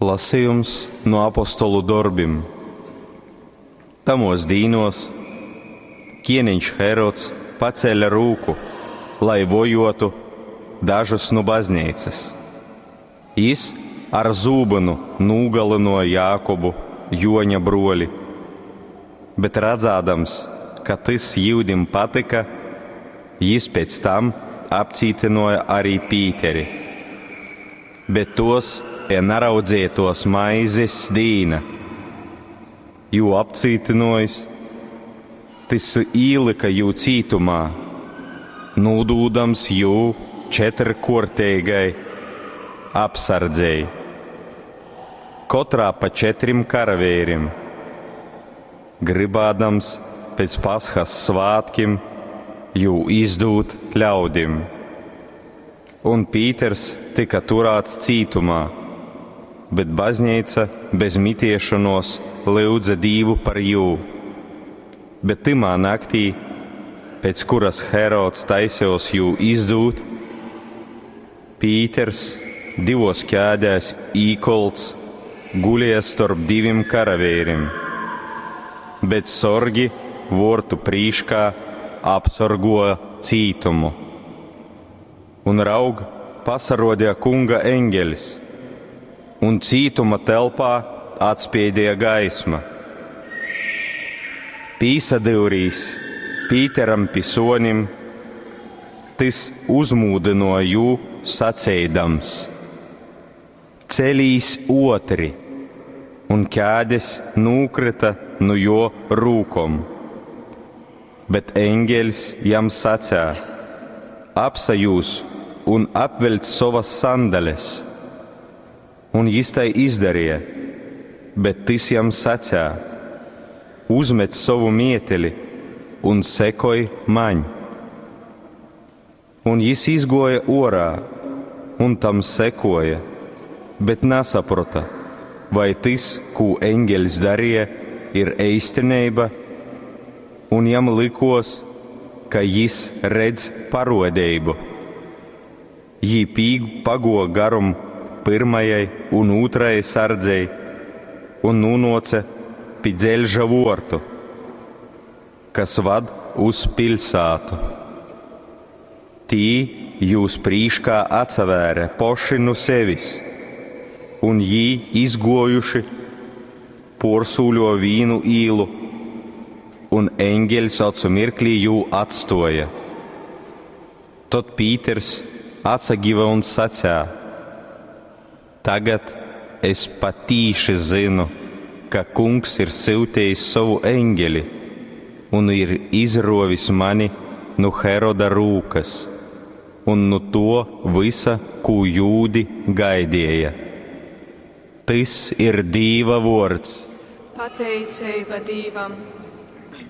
Lasejums nu Apostolu dorbim. Tamuos dīnuos kieneņš Herods pacēle rūku, lai vojuotu dažus nu bazneicys. Jis ar zūbynu nūgalynuoja Jākubu, Juoņa bruoli. Bet radzādams, ka tys jūdim patyka, jis pēc tam apcītynuoja ari Pīteri. Bet tuos beja naraudzētuos maizes dīna. Jū apcītynuojis, tys īlyka jū cītumā, nūdūdams jū četrkuorteigai apsardzei, kotrā pa četrim karaveirim, grybādams pēc Pashas svātkim jū izdūt ļaudim. Un Pīters tyka turāts cītumā, bet bazneica bez mitiešonuos lyudze Dīvu par jū. Bet tymā naktī, pēc kuras Herods taisejos jū izdūt, Pīters divos ķēdēs īkolts gulēja storp divim karaveirim, bet sorgi vuortu prīškā apsorguoja cītumu. Un raug, pasarodīja kunga eņgelis, un cītuma telpā atspīdīja gaisma. Pīsadyurīs Pīteram pi suonim, tys uzmūdynuoja jū saceidams: Celīs uotri! Un ķēdes nūkryta nu juo rūkom. Bet eņgeļs jam sacēja: Apsajūz un apveļc sovas sandales. Un jis tai izdarīja, bet tys jam sacēja: Uzmet sovu mieteli un sekoj maņ. Un jis izguoja uorā un tam sekoja, bet nasaprota, vai tys, kū eņgeļs darīja, ir eistineiba, un jam likos, ka jis redz parodeibu. Jī pago garum pyrmajai un ūtrajai sardzei un nūnuoce pi dzeļža vuortu, kas vad uz piļsātu. Tī jūs prīškā atsavēre poši nu sevis, un jī izguojuši puorsūļo vīnu īlu, un eņgeļs ocu mirklī jū atstoja. Tod Pīters atsagiva un sacēja: Tagad es patīši zynu, ka kungs ir syutījis sovu eņģeli un ir izrovis mani nu Heroda rūkas un nu to visa, kū jūdi gaidīja. Tys ir Dīva vords. Pateiceiba Dīvam!